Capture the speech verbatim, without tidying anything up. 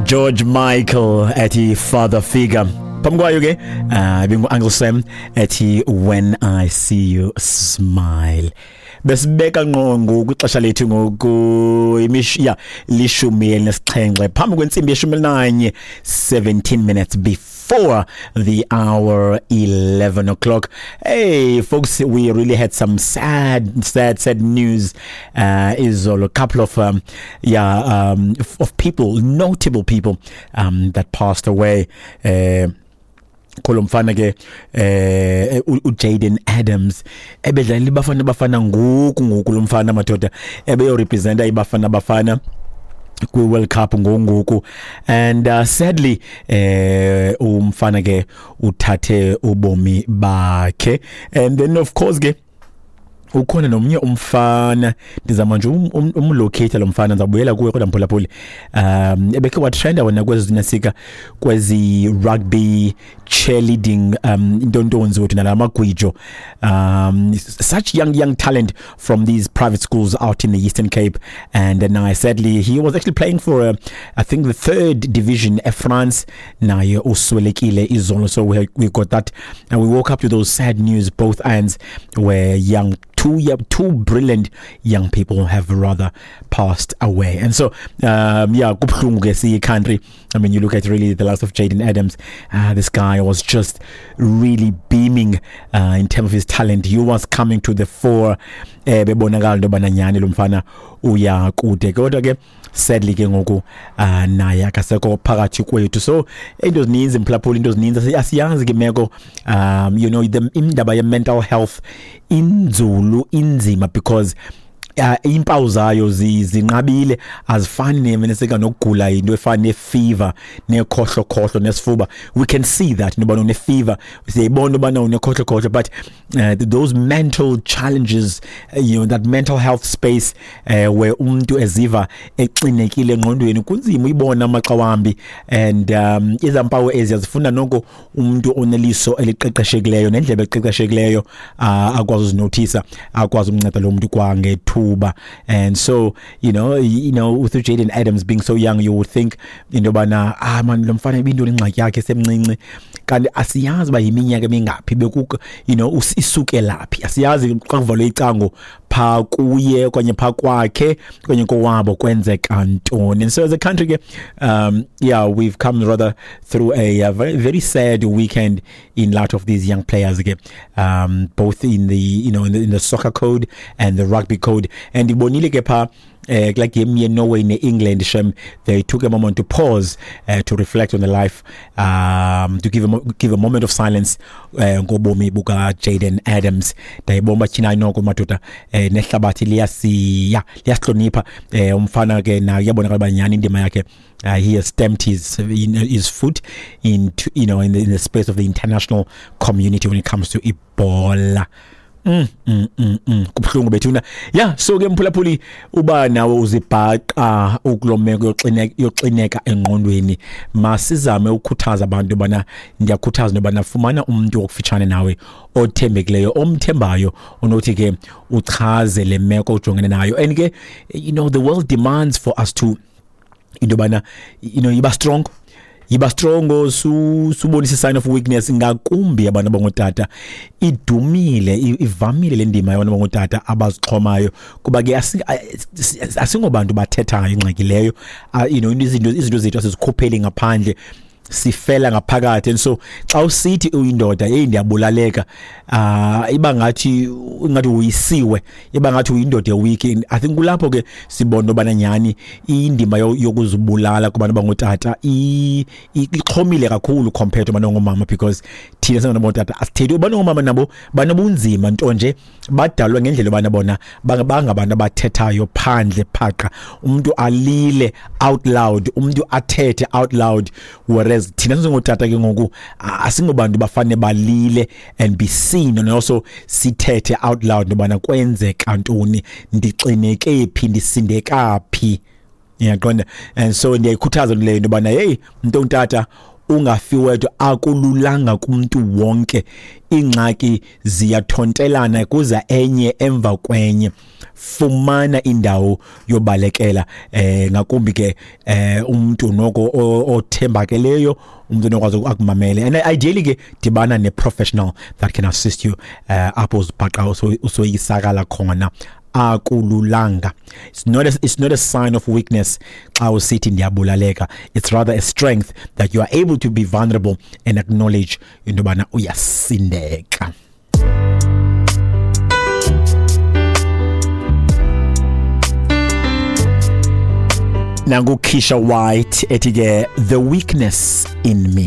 George Michael ethi "Father Figure". Phambi kwayo ke uh ibingu Uncle Sam ethi "When I See You Smile". Besibeka ngqo ngoku ixesha lethu ngoku imish ya lishumi elinesixhenxe phambi kwentsimbi yeshumi elinanye, seventeen minutes before the hour, eleven o'clock. Hey folks, we really had some sad, sad, sad news uh izolo. A couple of um, yeah um of people, notable people um that passed away. uh Kulo mfana ke eh uJaden Adams ebedlalela iBafana Bafana ngoku ngoku. Lo mfana, madoda, ebeyo representa iBafana Bafana kwi World Cup ngongoku, and uh, sadly eh umfana ke uthathe ubomi bakhe. And then of course ke ukhona nomnye umfana, ndizama nje um, um, umlocate lo mfana, ndizabuyela kuye kodwa mphulaphuli, um ebekhe watrenda wena kwezi zinasika kwezi rugby cheerleading um intontonzi wethu nalamagwijo, um such young young talent from these private schools out in the Eastern Cape. And uh, now sadly he was actually playing for uh, I think the third division eFrance, naye uswelekile izolo. So we we got that and we woke up to those sad news, both ends, where young two two brilliant young people have rather passed away. And so um yeah, kubuhlungu ke siyi country. I mean, you look at really the likes of Jaden Adams. Uh, this guy was just really beaming uh, in terms of his talent. He was coming to the fore, eh bebonakala into yobana nyani lo mfana uya kude, kodwa ke sadly ke ngoku uh, naye akasekho phakathi kwethu. So into zininzi, mphulaphuli, into zininzi, asiyazi ke imeko. um you know the indaba ye mental health inzulu, inzima, because uh, impawu zayo zinqabile, azifani nemeneseka nokugula into efana nefever, nekhohlo khohlo, nesifuba. We can see that noba une fever, siyayibona ubana unekhohlo khohlo, but uh, those mental challenges, uh, you know that mental health space uh, where umuntu eziva exinekile engqondweni, kunzima uyibona amaxa wambi. And um izampawu ezi azifuna noko umuntu oneliso eliqeqeshekileyo nendlebe eqeqeshekileyo uh, akwazi uzinothisa, akwazi umnceda lo muntu kwangethuba. And so you know you know with Jaden Adams being so young, you would think into yobana, ah man, lo mfana ibintoni ingxaki yakhe semncinci? Kanti asiyazi uba yiminyaka emingaphi beku you know isukelaphi. Asiyazi xa kuvalwe icango pha kuye okanye pha kwakhe okanye kowabo kwenzeka ntoni. And so as a country ke, um yeah, we've come rather through a, a very, very sad weekend in light of these young players ke, um both in the you know in the, in the soccer code and the rugby code. And ibonile ke pha eh kula game ye Norway ne England, shem, they took a moment to pause uh, to reflect on the life, um to give a give a moment of silence uh, ngobomi buka Jaden Adams. Ndayibona thina noko madoda, eh nehlabathi liyasi ya liyasihlonipha eh umfana ke naye uyabonakala banyani indima yakhe. uh, he has stamped his his foot into you know in the, in the space of the international community when it comes to ibhola. Mm, mm, mm, mm. Kubuhlungu bethuna. Yeah, so ke mphulaphuli, uba nawe uzibhaqa ukulomeko yoxineka yoxineka engqondweni, masizame ukukhuthaza abantu bana, ndiyakhuthaza nobana fumana umuntu okufitshane nawe othembekileyo, omthembayo, onothi ke uchaze le meko ujongene nayo. And ke you know the world demands for us to into bana you know yiba strong, yiba strong, su subonisa sign of weakness, ngakumbi abantu abangotata. Idumile, ivamile le ndima yabantu abangotata abazixhomayo, kuba ke asingobantu bathethayo ingxaki leyo. you know izinto izinto zethu asizikhupheli ngaphandle, sifela ngaphakathi. And so xa usithi uyindoda, hey, ndiyabulaleka, ah iba ngathi ingathi uyisiwe, iba ngathi uyindoda eweak. I think kulapho ke sibona obana nyani indima yokuzibulala kubantu abangotata ixhomile kakhulu compared to abantu abangomama, because thina singabantu abangotata asithethi. Abantu abangomama nabo banobunzima, nto nje badalwe ngendlela yobana bona bangabantu abathethayo phandle phaqa, umuntu alile out loud, umuntu athethe out loud, whereas thina singotata ke ngoku asingobantu bafane balile and be seen and also sithethe out loud nobana kwenzeka ntoni, ndixineke phi, ndisindeka phi, uyaqonda? And so ndiyayikhuthaza leyo into yobana, hey, mntu ongutata Ungafi wedwa, akululanga kumuntu wonke. Ingxaki ziyathontelana, kuza enye emva kwenye. Fumana indawo yobalekela, eh ngakumbi ke eh umuntu noko othembakeleyo, umuntu onokwazi akumamele. And ideally ke dibana ne professional that can assist you uh, apho uzibhaqa usoyisakala khona. Akululanga. It's not a, it's not a sign of weakness xa usithi ndiyabulaleka. It's rather a strength that you are able to be vulnerable and acknowledge into yobana uyasindeka. Nangu Keisha White ethi ke The Weakness in Me.